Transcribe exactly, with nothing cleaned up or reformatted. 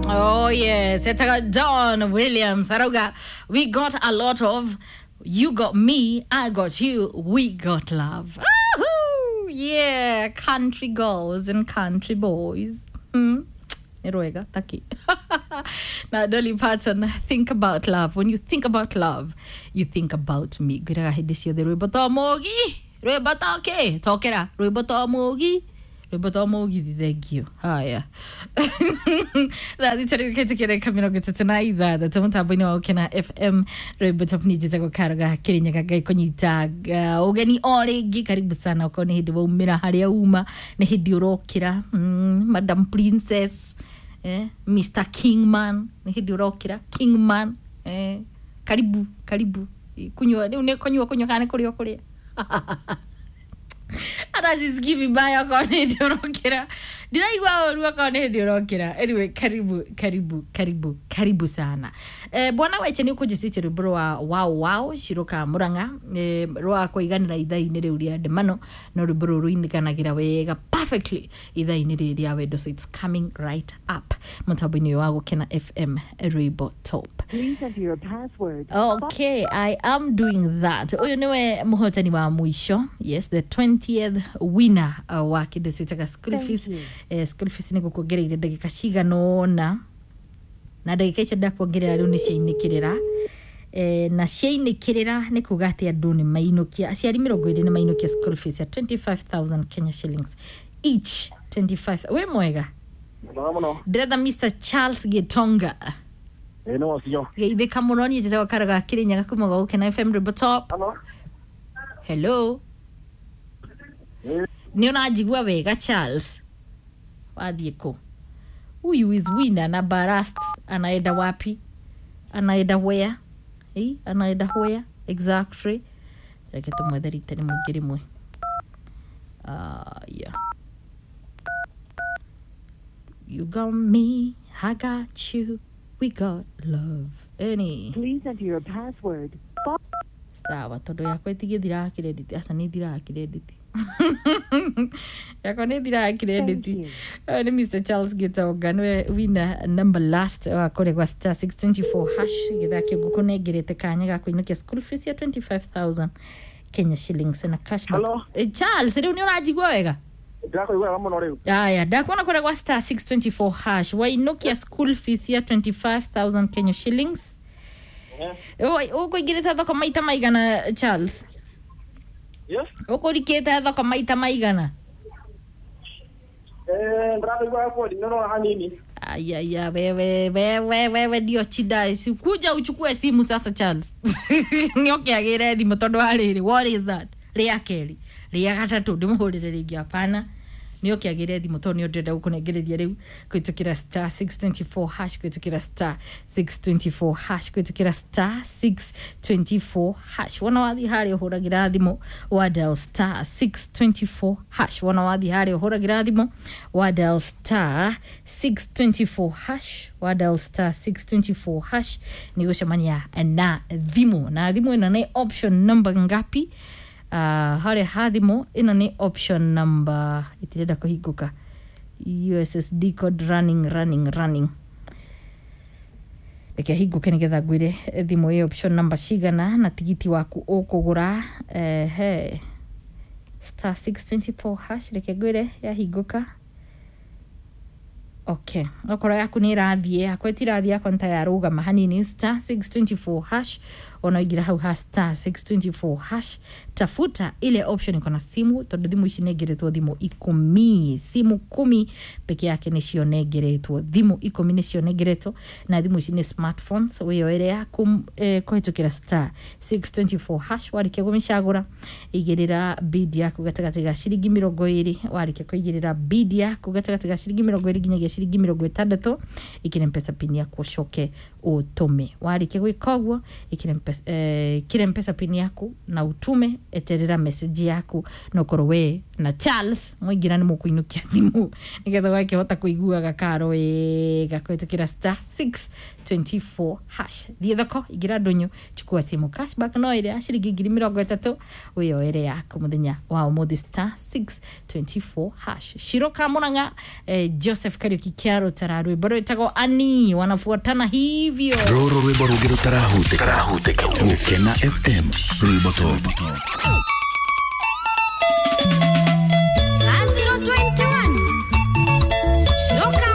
Oh yes, etaga Don Williams arauga we got a lot of you got me, I got you, we got love. Woohoo! Yeah, country girls and country boys. Mm. Nĩ rwega taki na Dolly Parton, think about love. When you think about love, you think about me. Ngwĩraga hĩndĩ ciothe rwĩmbo to mũgi rwĩmbo to kĩ tokera rwĩmbo to mũgi rwĩmbo to mũgithi thengio haya thaa thita rĩu kĩtĩkĩrĩka mĩrongo ĩtatũ na ithathatũ mũtambo-inĩ wa Gũkena F M rwĩmbo top nĩ njĩtagwo Karoga Kĩrĩnyaga Ngai kũnyita uh, ũgeni o rĩngĩ karibu sana okorwo nĩ hĩndĩ waumĩra harĩa uma nĩ hĩndĩ ũrokĩra mm, Madam Princess eh, Mister Kingman nĩ hĩndĩ ũrokĩra Kingman eh, karibu karibu kunyua rĩu nĩ kũnyua kũnyua kana nĩ kũrĩa ũkũrĩa hata sisikii vibaya okorwo nĩ hĩndĩ ũrokĩra ndiraigua ũru okorwo nĩ hĩndĩ ũrokĩra anyway karibu karibu karibu karibu sana eh, bwana weche nĩ ũkũnjĩcĩtie rwĩmbo rwa wow wow Shiroka Murang'a eh, rwa kũiganĩra ithaa-inĩ rĩu rĩa ndemano no rwĩmbo rũrũ rũinĩkanagĩra wega perfectly ithaa-inĩ rĩrĩ rĩa wendo so it's coming right up mũtambo-inĩ ũyũ wa Gũkena F M rwĩmbo top. Please enter your password. Okay, I am doing that. Ũyũ nĩwe mũhotani wa mũico. Yes, the twentieth winner uh, wa kĩndũ ciĩtaga school Thank fees. you. Eh, school fees nĩ gũkuongereire ndagĩka cigana ũna na ndagĩka icio ndakuongerera rĩu nĩ ciainĩkĩrĩra eh, na ciainĩkĩrĩra nĩ kuga atĩ andũ nĩ mainũkia aciari mĩrongo ĩrĩ nĩ mainũkia school fees ya twenty-five thousand Kenya shillings each twenty-five wĩ mwega Mwega mũno. ndĩretha Mister Charles Gitonga Ĩĩ nĩ wacio. geithĩka mũno niĩ njĩtagwo Karoga Kĩrĩnyaga kuma gwa Gũkena F M Rwĩmbo Top. Hello. Hello Ĩĩ. nĩ ũranjigua wega Charles wathiĩ kũ huyu is winner na barast anaenda wapi anaenda where eh anaenda where exactly reke tũmwethe rita rĩmwe ngĩ rĩmwe uh, yeah. You got me, I got you, we got love. Any. Please enter your password. Sawa tondu yakwa ĩtigĩthiraga credit aca nĩ ĩthiraga credit yakwa nĩ ĩthiraga credit Thank you. Ũyũ nĩ Mister Charles Gitonga nĩwe winner number last wa kũrĩa gwa star six twenty-four hash gĩthaa kĩu ngũkũnengerete kanya ga kũinũkia school fees ya twenty-five thousand Kenya shillings na cashback. Hello? Eh, Charles rĩu nĩ ũranjigua wega Ndĩrakũigua wega mũno rĩu. aya ndakuona kũrĩa gwa star six twenty-four hash wainũkia school fees ya twenty-five thousand Kenya shillings ũkũingĩrĩte thoko maita maigana Charles Yes. ũkũrikĩte thoko maita maigana Eh, ndĩrakũigua wega ndinona hanini. ayaya wewe wewe wewe ndio chida kuja uchukue simu sasa Charles nĩũkĩagĩre thimũ tondũ wa rĩrĩ what is that rĩa kerĩ rĩa gatatũ ndĩmũhũrĩre rĩngĩ hapana nĩũkĩagĩre thimũ tondũ nĩ ndĩrenda gũkũnengereria rĩu kũhĩtũkĩra star six twenty-four hash kũhĩtũkĩra star six twenty-four hash kũhĩtũkĩra star six twenty-four hash wona wathiĩ harĩa ũhũragĩra thimũ wa dial star six twenty-four hash wona wathiĩ harĩa ũhũragĩra thimũ wa dial star six twenty-four hash wa dial star six twenty-four hash nĩ gũcemania na thimũ na thimũ ĩno nĩ option number ngapi uh, harĩa ha thimũ ĩno nĩ option number ĩtirenda kũhingũka U S S D code running running running reke hingũke nĩgetha ngwĩre thimũ ĩ option number cigana na tigiti waku ũkũgũra ehe star six twenty-four hash reke ngwĩre yahingũka okay okorwo yaku nä ĩrathiĩ yakwa ĩtirathiĩ yakwa nĩ ta yarũgama hanini star six twenty-four hash ona ũingĩra hau ha star six twenty-four hash tafuta ile option iko na simu tondũ thimũ ici nengeretwo thimũ ikũmi simu kumi peke yake nĩcio nengeretwo thimũ ikũmi nĩcio nengeretwo na thimũ ici nĩ smartphones wĩyoere yaku eh, kũhĩtũkĩra star six twenty-four hash warĩkia kũmĩcagũra igĩrĩra bid yaku gatagatĩ ga ciringi mĩrongo ĩrĩ warĩkia kũigĩrĩra bid yaku gatagatĩ ga ciringi mĩrongo ĩrĩ nginyagia ciringi mĩrongo ĩtandatũ ĩkĩre mpesa pin yaku ũcoke ũtũme warĩkia gwĩka ũguo ĩkĩre mpesa, eh, ĩkĩre mpesa pin yaku na utume eterera message yaku na ũkorwo we na Charles mwaingĩra nĩ mũkũinũkia thimũ nĩgetha ũgakĩhota kũiguaga karo wega kũhĩtũkĩra star six twenty-four hash thiĩ thoko ingĩra ndũnyũ chukua simu cashback no ĩrĩa ya ciringi ngiri mĩrongo ĩtatũ wĩyoere yaku mũthenya wa ũmũthĩ star six twenty-four hash Shiroka Murang'a eh, Joseph Kariuki Kĩhiki kĩa Rũtara, rwĩmbo rwĩtagwo Ani, wanafuatana hivyo. Rũrũ rwĩmbo rũngĩ rũtarahutĩka. Gũkena F M, rwĩmbo top.